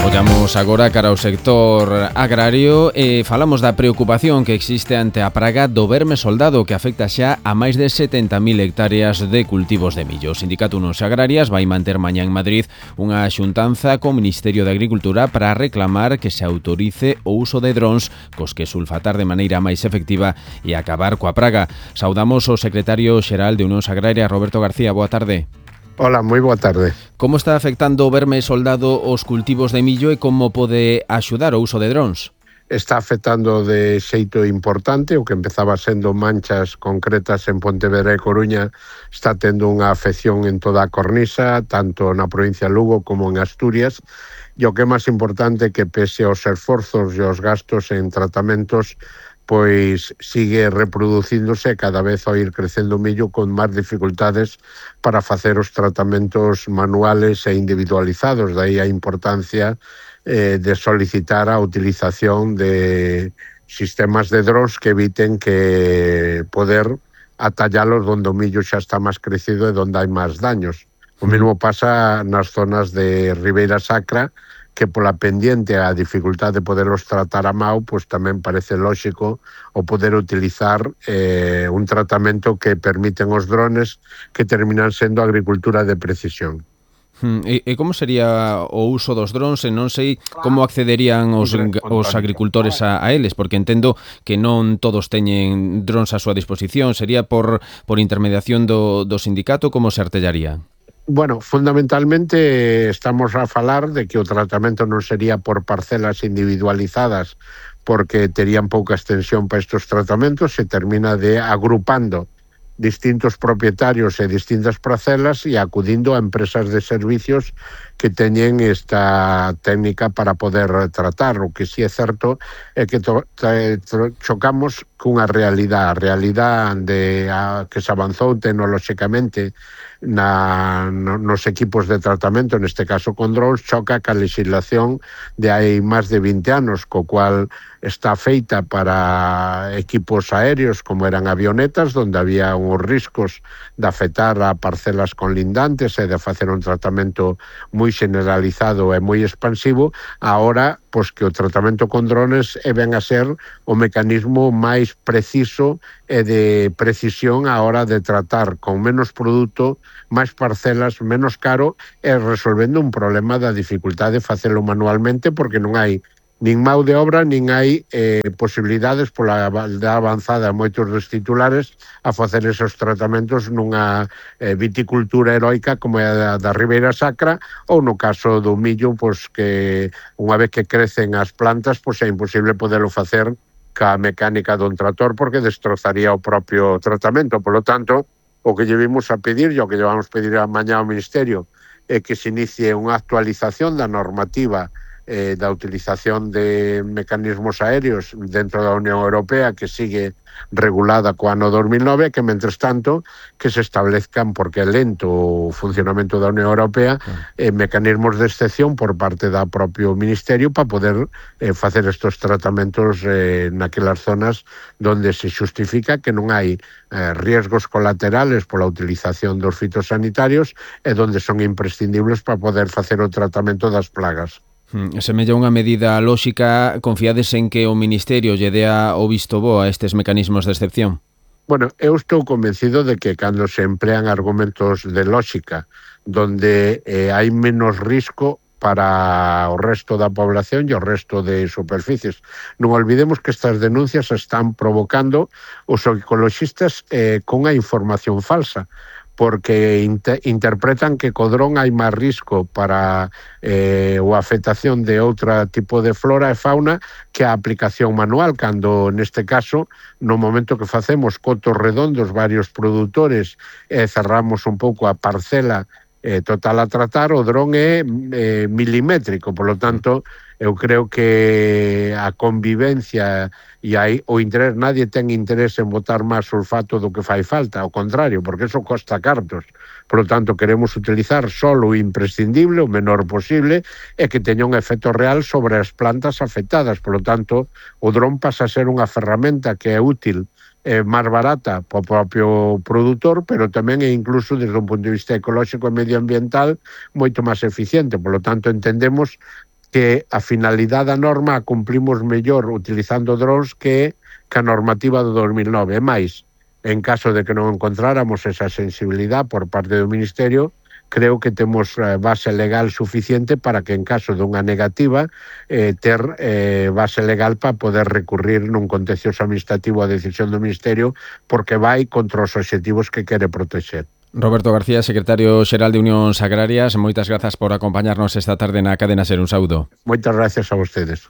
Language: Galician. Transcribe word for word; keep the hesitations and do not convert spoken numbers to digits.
Ollamos agora cara ao sector agrario e falamos da preocupación que existe ante a praga do verme soldado que afecta xa a máis de setenta mil hectáreas de cultivos de millo. O Sindicato Unións Agrarias vai manter mañá en Madrid unha xuntanza co Ministerio de Agricultura para reclamar que se autorice o uso de drons cos que sulfatar de maneira máis efectiva e acabar coa praga. Saudamos o secretario xeral de Unións Agrarias, Roberto García. Boa tarde. Hola, moi boa tarde. Como está afectando o verme soldado os cultivos de millo e como pode axudar o uso de drons? Está afectando de xeito importante, o que empezaba sendo manchas concretas en Pontevedra e Coruña está tendo unha afección en toda a cornisa, tanto na provincia de Lugo como en Asturias, e o que é máis importante que pese aos esforzos e aos gastos en tratamentos, pois sigue reproducíndose cada vez ao ir crecendo o millo con máis dificultades para facer os tratamentos manuales e individualizados. Daí a importancia eh, de solicitar a utilización de sistemas de drons que eviten que poder atallalos donde o millo xa está máis crecido e donde hai máis daños. O mesmo pasa nas zonas de Ribeira Sacra, que pola pendiente a dificultade de poderlos tratar a mao, pois tamén parece lóxico o poder utilizar eh, un tratamento que permiten os drones que terminan sendo agricultura de precisión. Hmm, e, e como sería o uso dos drons e non sei como accederían os, os agricultores a, a eles, porque entendo que non todos teñen drons a súa disposición. Sería por, por intermediación do, do sindicato, como se artellaría? Bueno, fundamentalmente estamos a falar de que o tratamento non sería por parcelas individualizadas porque terían pouca extensión para estes tratamentos, se termina de agrupando distintos propietarios e distintas parcelas e acudindo a empresas de servicios que teñen esta técnica para poder tratar. O que sí é certo é que to, to, chocamos cunha realidade, a realidade de, a, que se avanzou tecnolóxicamente na, no, nos equipos de tratamento, neste caso con drones, choca ca legislación de hai máis de vinte anos, co cual está feita para equipos aéreos como eran avionetas, donde había uns riscos de afectar a parcelas conlindantes e de facer un tratamento moi generalizado e moi expansivo. Ahora, pois que o tratamento con drones é ben a ser o mecanismo máis preciso e de precisión a hora de tratar con menos produto, máis parcelas, menos caro e resolvendo un problema da dificultade de facelo manualmente porque non hai nin mão de obra, nin hai eh, posibilidades pola da avanzada moitos dos titulares a facer esos tratamentos nunha eh, viticultura heroica como é a da Ribeira Sacra, ou no caso do millo, pois que unha vez que crecen as plantas, pois é imposible podelo facer ca mecánica dun trator porque destrozaría o propio tratamento. Por lo tanto, o que lle vimos a pedir, e o que lle vamos pedir a mañá ao Ministerio, é que se inicie unha actualización da normativa eh, da utilización de mecanismos aéreos dentro da Unión Europea que sigue regulada co ano dos mil nove, que mentres tanto que se establezcan, porque é lento o funcionamento da Unión Europea, eh, mecanismos de excepción por parte da propio Ministerio para poder eh, facer estos tratamentos eh, naquelas zonas donde se xustifica que non hai eh, riesgos colaterales pola utilización dos fitosanitarios e donde son imprescindibles para poder facer o tratamento das plagas. Semella unha medida lóxica. Confiades en que o Ministerio lle dea o visto bo a estes mecanismos de excepción? Bueno, eu estou convencido de que cando se emplean argumentos de lóxica donde eh, hai menos risco para o resto da población e o resto de superficies. Non olvidemos que estas denuncias están provocando os ecologistas eh, con a información falsa, porque inter interpretan que co dron hai máis risco para eh, a afectación de outro tipo de flora e fauna que a aplicación manual, cando neste caso, no momento que facemos cotos redondos, varios produtores, e eh, cerramos un pouco a parcela eh, total a tratar, o dron é eh, milimétrico, por lo tanto, eu creo que a convivencia e aí o interés, nadie ten interés en botar máis sulfato do que fai falta, ao contrario, porque eso costa cartos. Por lo tanto, queremos utilizar só o imprescindible, o menor posible, e que teña un efecto real sobre as plantas afectadas. Por lo tanto, o dron pasa a ser unha ferramenta que é útil, eh, máis barata para o propio produtor, pero tamén é incluso desde un punto de vista ecolóxico e medioambiental moito máis eficiente. Por lo tanto, entendemos que a finalidade da norma a cumplimos mellor utilizando drons que que a normativa do dos mil nove. E máis, en caso de que non encontráramos esa sensibilidade por parte do Ministerio, creo que temos base legal suficiente para que en caso dunha negativa eh, ter eh, base legal para poder recurrir nun contencioso administrativo a decisión do Ministerio porque vai contra os obxectivos que quere protexer. Roberto García, secretario xeral de Unións Agrarias, moitas grazas por acompañarnos esta tarde na Cadena Ser. Un saúdo. Moitas gracias a vostedes.